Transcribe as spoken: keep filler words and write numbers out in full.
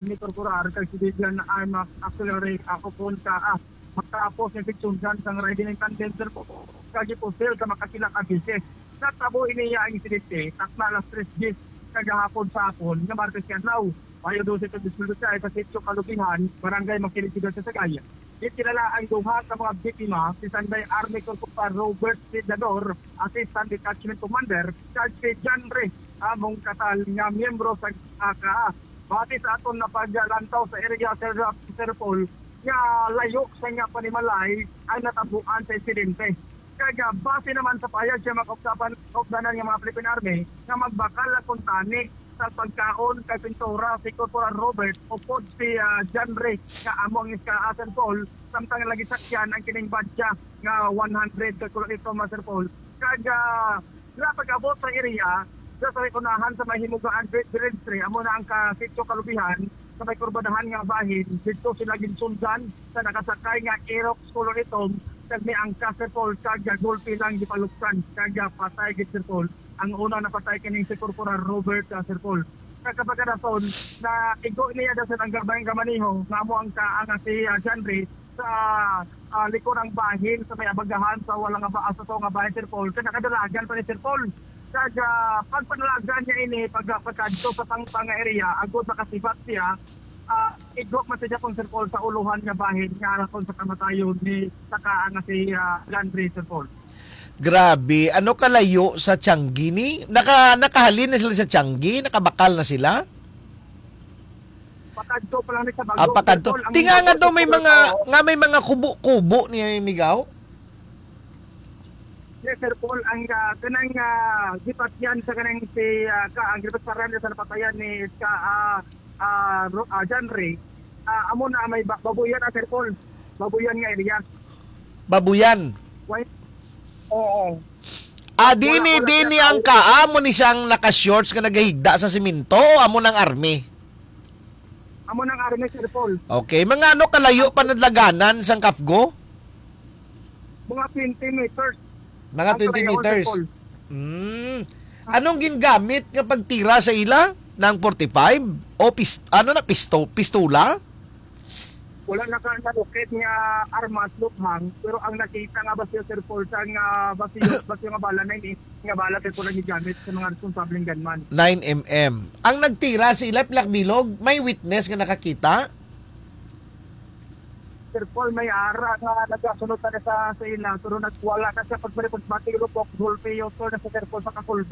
ni Corporal kag Civilian Arms Auxiliary, ah, Opon ka, ah, matapos nga gitsundan sang riding in tandem, Sir Paul, kag gipusil sa makapila ka beses. Natabo ini ang insidente takna alas tres diyes kagahapon sa hapon nga Martes nga adlaw, Mayo dose, twenty twenty-five, sa Sitio Kalubihan, Barangay Makiling, Sibuyas, Sagay. Ginkilala ang duha ka mga biktima, si Sanday Army Corporal Robert Sidador, Assistant Detachment Commander, kag si John Ray Among Katal nga miyembro sa A K A. Base sa aton na paglantaw sa area, Sir, Sir Paul, nga layo sa nga panimalay ang natabuan sa insidente. Kag, ah, base naman sa pahayag sa mga kaupdapan, kaupdanan nga mga Philippine Army, nga magbakal na kuntani sa pagkaon kay pintura si Corporal Robert upod si, ah, John Ray nga amo ang S K A, Sir Paul, samtang lagi sakyan ang kining badya nga one hundred ka kulo ito, Master Paul. Kag, ah, sa pag-abot sa area, sa, sa unahan sa may Himugaan Village three, amo na ang ka Sitio Kalubihan, sa may kurbadahan nga bahin, dito sila ginsundan sa nakasakay nga Aerox color itom, kag may angkas, Sir Paul, kag gulpi lang gipaluksan, kag patay gid, Sir Paul, ang una napatay kining si Corporal Robert, ah, Sir Paul. Sa kapagkadason, na igo niya dason ang gabay nga maniho, nga amo ang ka-, ang si, ah, John Ray, sa, ah, likod ang bahin, sa may abagahan, sa wala nga ba, sa to nga bahin, Sir Paul. Kaya nakadalagan pa ni Sir Paul. Kag, ah, pagpanalagan niya ini, pag, pagkadto sa pangpang nga area, agod makasibat siya, ah, igwak man siya kung, Sir Paul, sa uluhan nga bahin nga arakon sa kamatayon ni saka nga si, ah, John Ray, Sir Paul. Grabe, ano kalayo sa Tiangge ni? Naka, nakahalin na sila sa Tiangge? Nakabakal na sila? Pakadto pa lang ni sa Ah, Bagong, pakadto. Sir Paul, ang Tinga nga Bagong, daw may Sir Paul, mga, oo. nga may mga kubo-kubo ni Migaw? Yes, Sir Paul, ang, ah, kanang, ah, gipatyan sa kanang si, ah, ka, ang gipatparan sa napatayan ni ka, ah, ah, Ro-, ah, John Ray, ah, amo na may ba-, Babuyan, ah, Sir Paul. Babuyan nga area. Babuyan. Why? Oo. Ah, di Wala, ni, wala di sila ni ang tao. Ka, amo ni siyang naka-shorts nga nagahigda sa simento o amo nang army? Amo nang army, Sir Paul. Okay, mga ano kalayo pa nadlaganan sang Kafgo? Mga twenty meters. Mga Ang twenty kalayo, Sir meters. Paul. Mm. Anong gingamit nga pagtira sa ila? Nang forty-five? O pis-, ano na, pisto-, pistola? Wala na ka nalukit nga armas, luthang, pero ang nakita nga basyo, Sir Paul, sa nga basyo, basyo nga bala na ini, nga bala, Sir Paul, ang gigamit sa mga responsableng gunman. Nine M M. Ang nagtira sa ila, pilak bilog, may witness nga nakakita? Sir Paul, may ara nga nagasunod na sa, sa ila, pero nagwala na siya pag-, pag-, pag-, pag-, gulpi, yun, Sir, na sa Sir Paul, sa kakulba.